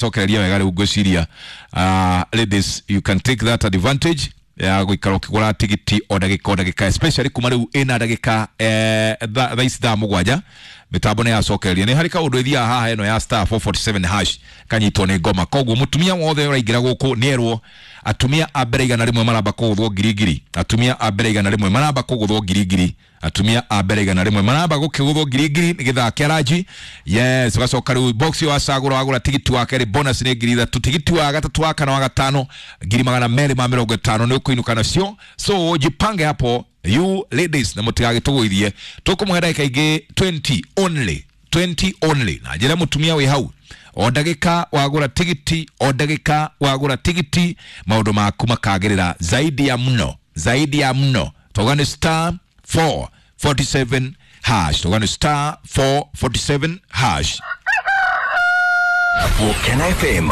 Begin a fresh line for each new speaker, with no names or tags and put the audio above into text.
Cokereria wega rĩu ngwĩciria, ladies, you can take that advantage ya gũikara ũkĩgũra tigiti o ndagĩka o ndagĩka, especially kuma rĩu ĩna ndagĩka thaa ici 7:00. Mĩtambo nĩ yacokereria. Nĩ harĩ kaũndũ ĩthiaga haha ĩno ya *447# kanyitwo nĩ ngoma. Koguo mũtumia wothe ũraingĩra gũkũ nĩ erwo atumia a mbere 100 maramba kũgũthwo ngiri ngiri. Atumia a mbere 100 maramba kũgũthwo ngiri ngiri. Atumia a mbere 100 maramba gũkĩgũthwo ngiri ngiri nĩ gĩthaa kĩa ranji. Yes, ũgacoka rĩu box ĩyo wacagũra, wagũra tigiti wa kerĩ, bonus nĩ 3,000. Tigiti wa gatatũ, wa kana, wa gatano, 250,000 nĩ ũkũinũka nacio. So jipange hapo, you ladies, na mũtigagĩtũgũithie. Tũkũmũhe ndagĩka ingĩ 20 only, 20 only. Na njĩra mũtumia wĩ hau, o ndagĩka wagũra tigiti, o ndagĩka wagũra tigiti, maũndũ maku makagĩrĩra zaidi ya mno, zaidi ya mno. Tauga nĩ *447#. Tauga nĩ *447#.
Volcano FM.